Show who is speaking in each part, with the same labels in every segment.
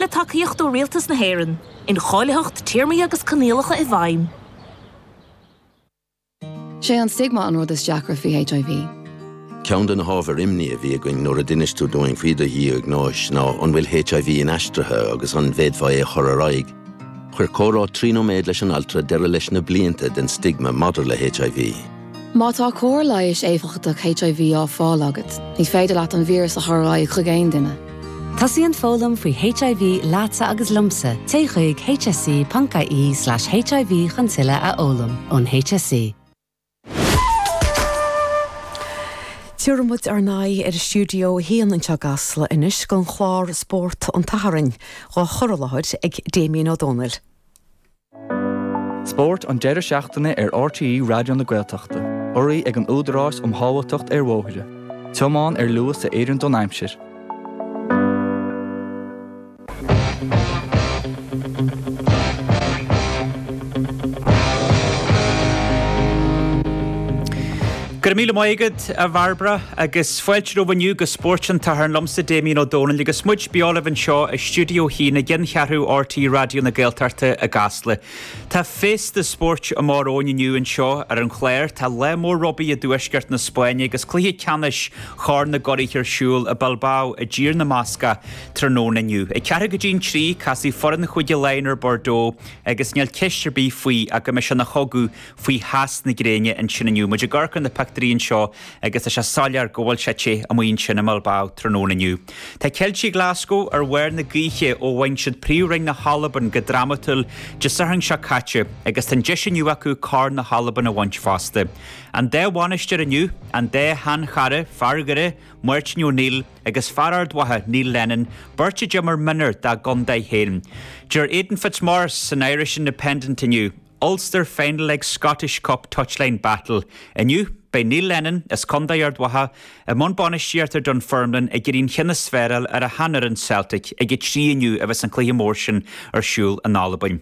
Speaker 1: Le tacaíocht ó Rialtas na hÉireann. Incháilitheacht, téarmaí agus coinníollacha i bhfeidhm.
Speaker 2: Sé an stigma an rud is deacra faoi HIV.
Speaker 3: Ceann de na hábhair imní a bhí againn nuair a d'inis tú dúinn faoi do dhiagnóis ná an bhfuil HIV inaistrithe agus an bhféadfá é a chur ar aghaidh. Chuir comhrá 3 nóiméad leis an altra deireadh leis na blianta den stigma maidir le HIV.
Speaker 2: Má tá cóir leighis éifeachtach HIV á fáil agat, ní féidir leat an víreas a chur ar aghaidh chuig aon duine.
Speaker 4: Tosaíonn foghlaim faoi HIV leatsa agus liomsa, téigh chuig hse.ie/hiv chun tuilleadh a fhoghlaim ón HSE.
Speaker 5: Tabharfaidh muid ár n-aghaidh ar Stiúideo 1 anseo i gCasla anois don chlár Spórt an tSathairn, dhá chur i láthair ag Damien Ó Dónaill.
Speaker 6: Spórt an deireadh seachtaine ar RTÉ Raidió na Gaeltachta, urraithe ag an Údarás um Shábháilteacht ar Bhóithre. Tiomáin ar luas a oireann don aimsir.
Speaker 7: Go raibh míle maith agat, a Bhairbre, agus fáilte romhaibh inniu go Spórt an tSathairn liomsa, Damien Ó Dónaill, agus muid beo libh anseo i Stiúideo 1 i gceanncheathrú RTÉ Raidió na Gaeltachta i gCasla. Tá féasta spóirt amach romhainn inniu anseo ar an chlár. Tá lá mór rugbaí i dtuaisceart na Spáinne agus cluiche ceannais Chorn na gCuradh ar siúl i Bilbao i dTír na mBascach tráthnóna inniu. Ag ceathrú go dtí an trí, casfaidh foireann Chúige Laighean ar Bordeaux agus níl ceist ar bith faoi ach go mbeidh sé ina chogadh faoi theas na gréine ansin inniu. Muid ag amharc ar na pictiúirí anseo agus tá sé soiléir go bhfuil sé te amuigh ansin i mBilbao tráthnóna inniu. Tá Ceiltigh Glasgow ar bharr na gaoithe ó bhain siad Príomhroinn na hAlban go drámatúil Dé Sathairn seo caite agus tá an deis inniu acu Corn na hAlban a bhaint fosta. An dá bhainisteoir inniu, an dá shean-chara, fear Dhoire, Máirtín O'Neill, agus fear Ard Mhacha, Neil Lennon, beirt a d'imir mionúir dá gcontae féin. Deir Aidan Fitzmaurice san Irish Independent inniu, Ulster Final Leg Scottish Cup Touchline Battle inniu. Beidh Neil Lennon, as Contae Ard Mhacha, i mbun bainistíochta ar Dunfermline ag iarraidh an ceann is fearr a fháil ar a sheanfhoireann Celtic ag a 3 inniu a bheas an cluiche mór sin ar siúl in Albain.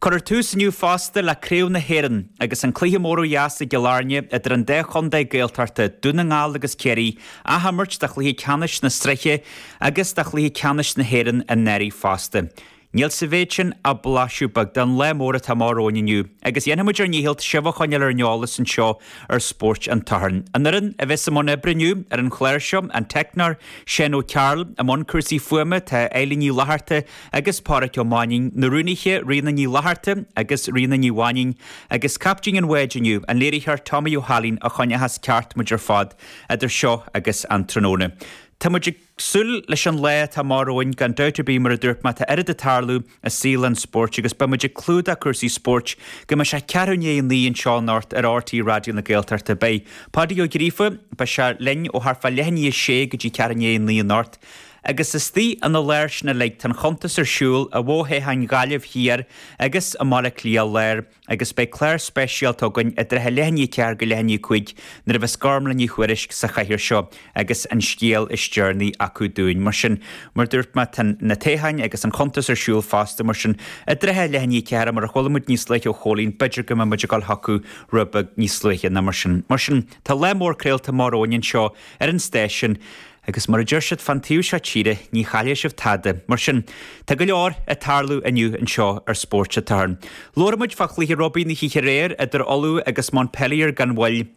Speaker 7: Cuirfear tús inniu fosta le Craobh na hÉireann agus an cluiche mór ó dheas i gCill Airne idir an dá chontae Gaeltachta, Dún na nGall agus Ciarraí, athimirt de chluiche ceannais na sraithe agus de chluiche ceannais na hÉireann anuraidh fosta. Níl sa mhéid sin ach blaiseadh beag den lá mór atá amach romhainn inniu, agus dhéanfaidh muid ár ndícheall sibh a choinneáil ar an eolas anseo ar Spórt an tSathairn. An fhoireann a bheas i mbun oibre inniu ar an chlár seo, an teicneoir Seán Ó Cearúil, i mbun cúrsaí fuaime tá Eilín Ní Fhlatharta agus Pádhraic Ó Mainnín, na rúnaithe Ríona Ní Fhlatharta agus Ríona Ní Mhainín, agus caiptín an bháid inniu, an léiritheoir Tommy Ó hAilín a choinneochas ceart muid ar fad idir seo agus an tráthnóna. Tá muid ag. súil leis an lá atá amach romhainn, gan dabht ar bith, mar a dúirt mé, tá oiread ag tarlú i saol an spóirt agus beidh muid ag clúdach cúrsaí spóirt go mbeidh sé ceathrú i ndiaidh a naoi anseo anocht ar RTÉ Raidió na Gaeltachta. Beidh Páidí Ó Gríofa, beidh sé linn ó thart fá leath i ndiaidh a sé go dtí ceathrú i ndiaidh a naoi anocht. Agus istigh ina lár sin uilig, tá an chuntas ar siúl i bhfo-thoghcháin Ghaillimh Thiar agus i mBaile Átha Cliath Láir. Agus beidh clár speisialta againn i dtrátha leath i ndiaidh 4 go leath i ndiaidh 5 nuair a bheas Gormlaith Ní Thuairisg sa chathaoir seo agus an scéal is deireanaí acu dúinn. Mar sin, mar dúirt mé, tá na toghcháin agus an chuntas ar siúl fosta, mar sin, i dtrátha leath i ndiaidh 4, mar a chuala muid níos luaithe ó Chóilín, b'fhéidir go mbeidh muid ag dul chucu rud beag níos luaithe ná mar sin. Mar sin, tá lá mór craolta amach romhainn anseo ar an stáisiún. Agus mar a deir siad fán taobh seo tíre, ní chaillfidh sibh tada. Mar sin, tá go leor ag tarlú inniu anseo ar Spórt an tSathairn. Labharfaidh muid fá chluiche rugbaí na hoíche aréir idir Ulaidh agus Montpellier gan mhoill.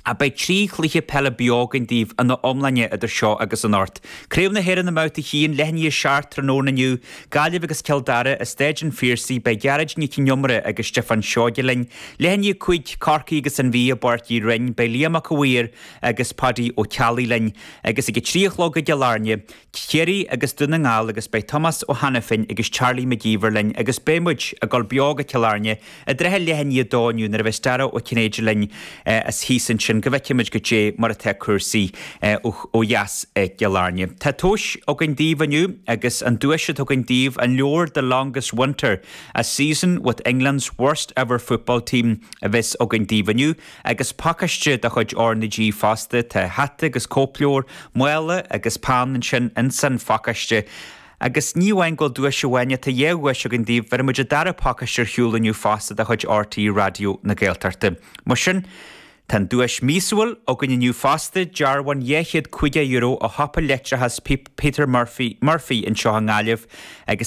Speaker 7: Ach beidh 3 chluiche peile beo againn daoibh ina iomláine idir seo agus anocht. Craobh na hÉireann i mBabhta 1, leath i ndiaidh 7 tráthnóna inniu, Gaillimh agus Cill Dara i Staid an Phiarsaigh, beidh Gearóid Nic Con Iomaire agus Stiofán Seoige linn. Leath i ndiaidh 5, Corcaigh agus an Mhí i bPáirc Uí Rinn, beidh Liam Mac a' Mhaoir agus Paudie Ó Ceallaigh linn agus ag a 3 a chlog i gCill Airne, Ciarraí agus Dún na nGall agus beidh Tomás Ó hAiniféin agus Charlie Mac Íomhair linn agus beidh muid ag dul beo go Cill Airne i dtrátha leath i ndiaidh a dó inniu nuair a bheas Dara Ó Cinnéide linn as thíos ansin go bhfeicfidh muid goidé mar atá cúrsaí ó dheas i gCill Airne. Tá tomhais againn daoibh inniu agus an duais atá againn daoibh, an leabhar The Longest Winter, A Season with England's Worst Ever Football Team a bheas againn daoibh inniu. Agus pacáiste de chuid R na G fosta, tá hata agus cóipleabhar, mála agus peann ansin ins an phacáiste. Agus ní amháin go bhfuil duais amháin, tá dhá dhuais againn daoibh, bhéarfaidh muid an dara pacáiste ar shiúl inniu fosta de chuid RTÉ Raidió na Gaeltachta. Mar sin, tá an duais míosúil againn inniu fosta, dearbhán €250 ó shiopa leictreachais Peter Murphy, Murphy anseo i nGaillimh agus.